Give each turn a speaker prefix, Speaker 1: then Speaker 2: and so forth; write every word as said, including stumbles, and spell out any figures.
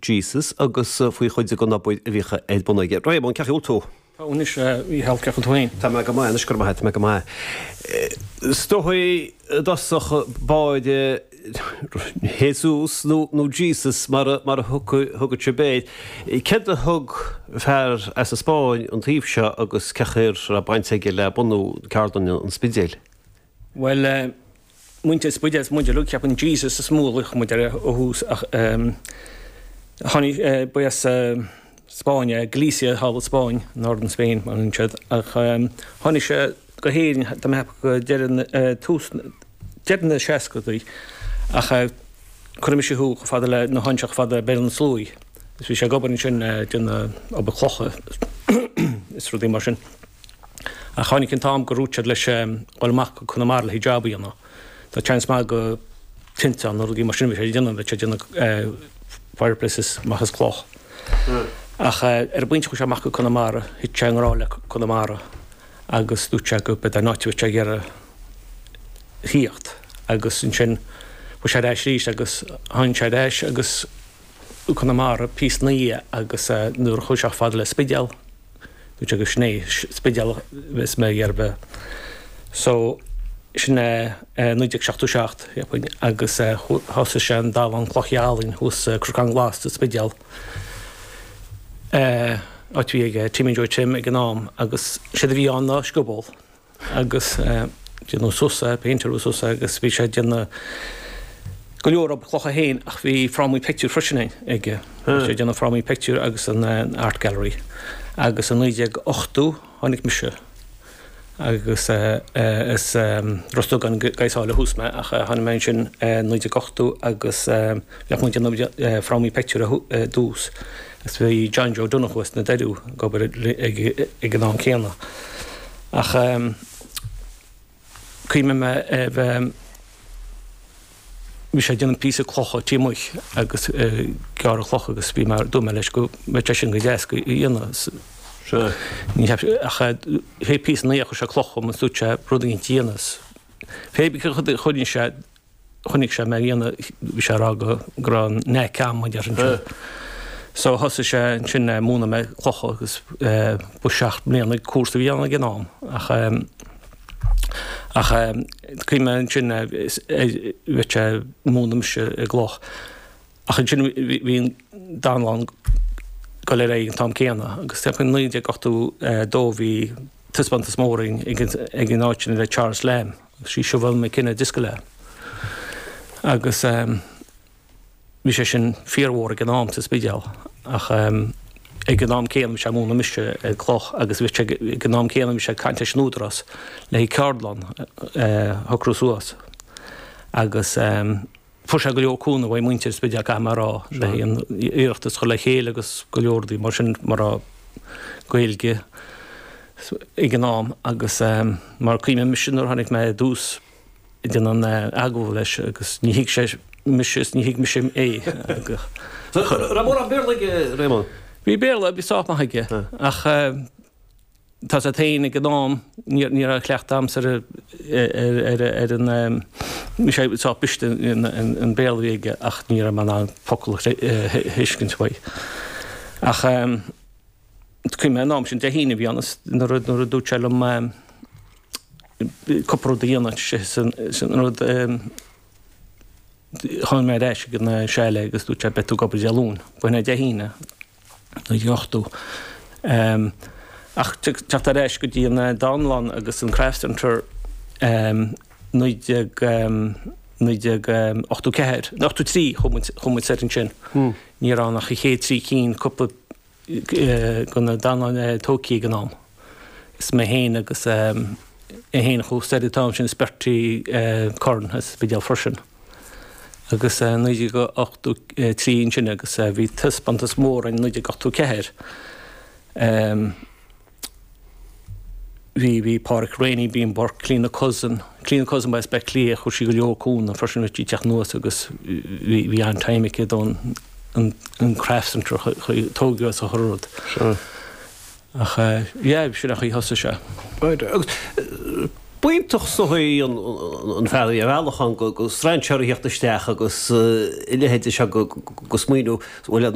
Speaker 1: Jesus agus faoi chuid den obair a bhíodh ar bun aige. Réamonn, cén chaoi a bhfuil tú?
Speaker 2: Tá anois í health tú féin.
Speaker 1: Tá mé go maith anois, go raibh maith, tá mé go maith. Is dóigh i dtosach báire Jesus nó nó Jesus mar a mar a thugadh sibh air. Céard a thug fear as an Spáinn an taobh seo agus cén chaoi a raibh baint aige le bunú ceardlann an Spidéil?
Speaker 2: Well muintir Spidéil is muid uilig ceapann Jesus is mó a luigh muid ar ó thús ach tháinig ba as Spáinn é, Galicia thall i Spáinn, Northern Spain mar a siad ach tháinig sé go hÉirinn tá mé ag ceapadh go deireadh tús deireadh na seascadaí ach cuireadh mise thú chomh fada le nó tháinig sé chomh fada le Béal na Sluaighe is bhí sé ag obair ansin déanamh obair clocha is rudaí mar sin. Ach tháinig an t-am gur dhúirt siad leis dhul amach go Conamara le haghaidh job a dhéanamh. Tá seans maith go tinteán nó rudaí mar sin a bhí sé ag déanamh, bhí sé ag déanamh fireplaces amach as cloch. Ach ar an bpointe chuaigh sé amach go Conamara, thit sé i ngrá le Conamara agus dúirt sé go b'é an áit a bhí sé ag iarraidh thíocht agus ansin chuaigh sé ar ais arís agus tháinig sé ar ais agus Conamara píosa ina dhiaidh agus nuair a chuaigh sé fada le Spidéal, dúirt sé go sin é Spidéal is mé ag iarraidh bheith. So sin é naoi déag seachtó seacht agus thosaigh sé an dánlann cloch álainn thuas sa Cnocán Glas sa Spidéal. Áit a bhí ag Timmy Joe Tim ag an am agus séard a bhí ann ná scioból agus déanadh suas é, péinteáladh suas é agus bhí sé ag déanamh go leor obair clocha féin ach bhí frámaí pictiúr freisin aige. Bhí sé ag déanamh frámaí pictiúr agus an Art Gallery agus i naoi déag ochtó tháinig mise agus is Ros Dugáin go Sáile thuas mé ach tháinig mé ansin naoi déag ochtó agus bheadh muid ag déanamh frámaí pictiúr i dtús agus bhí John Joe Donoghue as na Doiriú ag obair ag an am céanna. Ach cuimhním mé bheith bhí sé ag déanamh píosa clocha taobh amuigh agus gearradh cloch agus bhí mé dúirt mé leis go mbeadh sé sin go deas go dhéanamh.
Speaker 1: Sea.
Speaker 2: Ní cheap sé ach pé píosa ina dhiaidh chuir sé cloch chugam is dúirt sé rud éigin a dhéanamh. Pé bith cad a choinnigh sé chonaic sé mé a dhéanamh bhí sé ag rá go go raibh an knack agam a déarfainn sin. So thosaigh sé ansin ag múineadh mé clocha agus ba seacht mbliana cúrsa a bhí ann ag an am ach ach cuimhním mé ansin bheadh sé ag múineadh mise i gcloch. Ach ansin bhí an dánlann ag dul ar aghaidh an t-am céanna agus i naoi déag ochtó dó bhí taispeántas mór ag an áit sin le Charles Lamb agus sí Siobhán McKenna a d'oscail é. Agus bhí sé sin fíormhór ag an am sa Spidéal ach ag an am céanna bhí sé ag múineadh mise ag cloch agus bhí sé ag an am céanna bhí sé ag caint leis an Údarás le haghaidh ceardlann a shocrú suas agus fuair sé go leor cúnamh ó mhuintir Spidéal caithfidh mé a rá le haghaidh an Oireachtas a chur le chéile agus go leor rudaí mar sin mar a Gaeilge ag an am agus mar cuimhním mise nuair a tháinig mé i dtús ag déanamh an agallamh leis agus ní thuig sé mise is ní thuig mise é.
Speaker 1: Raibh mórán Béarla aige, Réamonn?
Speaker 2: Bhí Béarla, bhí sách maith aige ach tá sé féin ag an am, ní raibh cleachtadh a'msa ar ar ar an bhí sé sách briste an Béarla a bhí aige ach ní raibh mé in ann focal a thuiscint uaidh. Ach cuimhním an am sin Dé hAoine a bhí ann is nuair a dúirt sé liom cúpla rud a dhéanamh sin rud tháinig mé ar ais ag an chalet agus dúirt sé beidh tú ag obair Dé Luain. Ba shin é Dé hAoine, naoi déag ochtó. Ach teacht ar ais go dtí an dánlann agus an Craft Centre naoi déag naoi déag ochtó ceathair, ochtó trí chuaigh muid chuaigh muid soir ansin. Ní raibh ann ach an chéad trí cinn, cúpla de na dánlanna tógtha ag an am. Is mé féin agus é féin a chuaigh soir an t-am sin is Bertie Curran as Spidéal freisin. Agus naoi déag ochtó trí ansin agus bhí taispeántas mór in naoi déag ochtó ceathair. Bhí bhí Pádraic Reaney, Bean Burke, Clíona Cousin, Clíona Cousin ba as Baile Átha Cliath, chuir sí go leor cúnamh freisin bhí sí ag teacht anuas agus bhí bhí an-time aici don an an craft centre a tógadh as a chur rud.
Speaker 1: Sure.
Speaker 2: Ach yeah, sin an chaoi a thosaigh sé.
Speaker 1: Right. Agus B'iontach is dóigh an fear é ar bhealach ann go strainséir a theacht isteach agus a leithéid seo go smaoineamh, bhuel,